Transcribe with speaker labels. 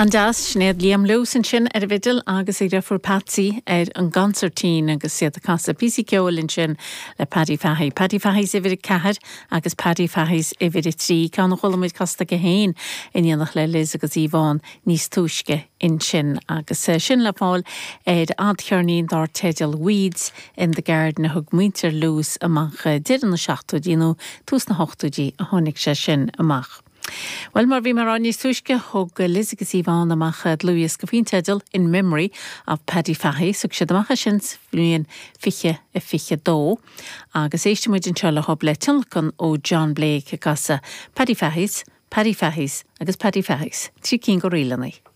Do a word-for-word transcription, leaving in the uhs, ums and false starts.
Speaker 1: An-deas Sinéad Liam Lewis ansin ar an bhfidil agus a dheirfiúr Patsy ar an gconsairtín agus iad ag casadh píosa ceoil ansin le Paddy Fahey. Paddy Fahey's uimhir a ceathair agus Paddy Fahey's uimhir a trí ceann a chuala muid casta aige féin in éineacht le Liz agus Yvonne níos túisce ansin agus eh, sin le fáil ar fhadcheirnín dar teideal Weeds in the Garden a thug muintir Lewis amach eh, deireadh na seachtóidí nó tús na hochtóidí a tháinig sé sin amach. Well mar bhí mé ag rá níos túisce thug Liz agus Yvonne amach dlúthdhiosca faoin teideal in memory of Paddy Fahey, thug siad amach sin bliain fiche a fiche dó, agus éistfimid anseo le hob le tionlacan ó John Blake ag casadh Paddy Fahey's, Paddy Fahey's agus Paddy Fahey's, trí cinn de ríleanna.